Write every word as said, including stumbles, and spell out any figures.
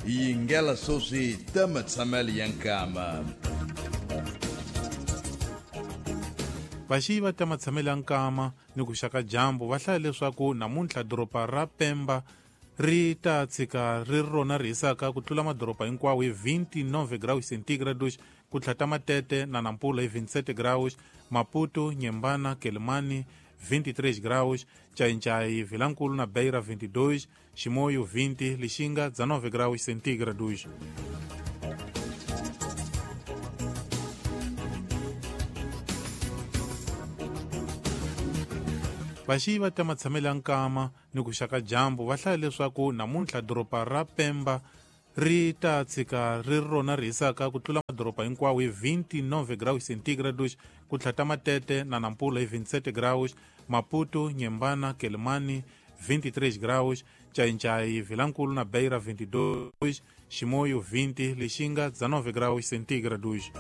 Yingela sweswi ta matshamelo ya nkama. Vaxiyi va ta matshamelo ya nkama ni ku xaka dyambu va hlaya leswaku namuntlha doroba ra Pemba ri ta tshika ri rona ri hisaka ku tlula madoroba hinkwawo hi vinte e nove graus centígrados, ku tlhata Matete na Nampula hi vinte e sete graus, Maputo, Nyembana, Quelimane vinte e três graus, Xai-Xai, Vilankulu na Beira vinte e dois, Chimoio vinte, Lixinga dezenove graus centígrados. Vaxiyi va ta matshamelo ya nkama ni ku xaka dyambu va hlaya leswaku namuntlha doroba ra Pemba ri ta tshika ri rona ri hisaka ku tlula madoroba hinkwawo hi vinte e nove graus centígrados, ku tlhata Matete na Nampula hi vinte e sete graus, Maputo, Nyembana, Quelimane vinte e três graus, Xai-Xai, Vilankulu na Beira vinte e dois, Chimoio vinte, Lixinga dezenove graus centígrados.